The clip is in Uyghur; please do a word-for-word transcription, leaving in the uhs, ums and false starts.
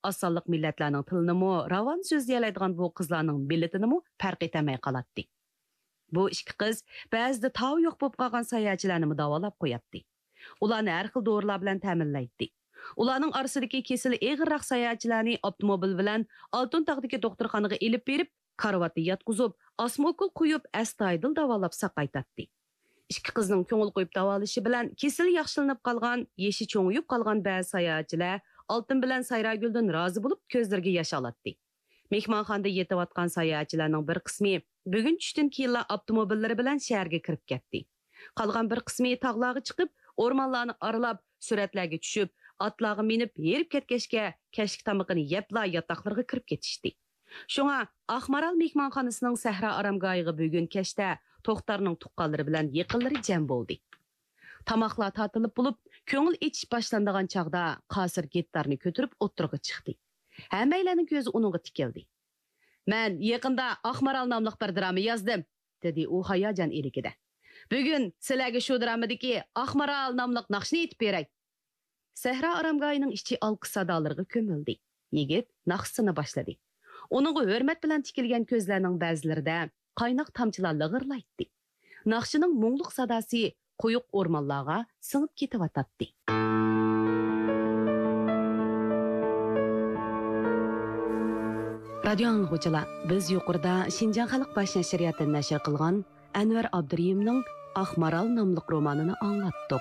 ئاز سانلىق مىللەتلەرنىڭ تىلىنىمۇ راۋان سۆزلىيەلەيدىغان بۇ قىزلارنىڭ مىللىتىنىمۇ پەرق ئېتەلمەي قالاتتى. بۇ ئىككى قىز بەزىدە تاۋى يوق بولۇپ قالغان ساياھەتچىلەرنىمۇ داۋالاپ قوياتتى. ئۇلارنى ھەر خىل دورىلار بىلەن تەمىنلەيتتى. ئۇلارنىڭ ئارىسىدىكى كېسىلى ئېغىرراق ساياھەتچىلەرنى ئاپتوموبىل بىلەن ئالتۇن تاغدىكى دوختۇرخانىغا ئېلىپ بېرىپ، كارىۋاتتا ياتقۇزۇپ، ئاسما ئوكۇل قويۇپ، ئەستايىدىل داۋالاپ ساقايتاتتى. ئىككى قىزنىڭ كۆڭۈل قويۇپ داۋالىشى بىلەن كېسىلى ياخشىلىنىپ قالغان، يېشى چوڭىيىپ قالغان بەزى ساياھەتچىلەر ئالتۇن بىلەن سايراگۈلدىن رازى بولۇپ، كۆزلىرىگە ياش ئالاتتى. مېھمانخانىدا يېتىۋاتقان ساياھەتچىلەرنىڭ بىر قىسمى بۈگۈن چۈشتىن كېيىنلا ئاپتوموبىللىرى بىلەن شەھەرگە كىرىپ كەتتى. قالغان بىر قىسمى تاغلارغا چىقىپ، ئورمانلارنى ئارىلاپ، سۈرەتلەرگە چۈشۈپ، ئاتلارغا مىنىپ ھېرىپ كەتكەچكە، كەچلىك تامىقىنى يەپلا ياتاقلىرىغا كىرىپ كېتىشتى. شۇڭا ئاقمارال مېھمانخانىسىنىڭ سەھرا ئارامگاھىغا بۈگۈن كەچتە توختارنىڭ تۇغقانلىرى بىلەن يېقىنلىرى جەم بولدى. تاماقلار تارتىلىپ بولۇپ، كۆڭۈل ئېچىش باشلىنىدىغان چاغدا قاسىر گىتارنى كۆتۈرۈپ ئوتتۇرىغا چىقتى. ھەممەيلەننىڭ كۆزى ئۇنىڭغا تىكىلدى. مەن يېقىندا ئاقمارال ناملىق بىر دىراما يازدىم، دېدى ئۇ ھاياجان ئىلكىدە. بۈگۈن سىلەرگە شۇ درامىدىكى ئاقمارال ناملىق ناخشىنى ئېيتىپ بېرەي. سەھرا ئارامگاھىنىڭ ئىچى ئالقىش سادالىرىغا كۆمۈلدى. يىگىت ناخشىسىنى باشلىدى. ئۇنىڭغا ھۆرمەت بىلەن تىكىلگەن كۆزلەرنىڭ بەزىلىرىدە قايناق تامچىلار لىغىرلايتتى. ناخشىنىڭ مۇڭلۇق ساداسى قويۇق ئورمانلارغا سىڭىپ كېتىۋاتاتتى. رادىيو ئاڭلىغۇچىلار، بىز يۇقىرىدا شىنجاڭ خەلق باش نەشرىياتى نەشر قىلغان ئەنۋەر ئابدۇرېھىمنىڭ ئاقمارال ناملىق رومانىنى ئاڭلاتتۇق.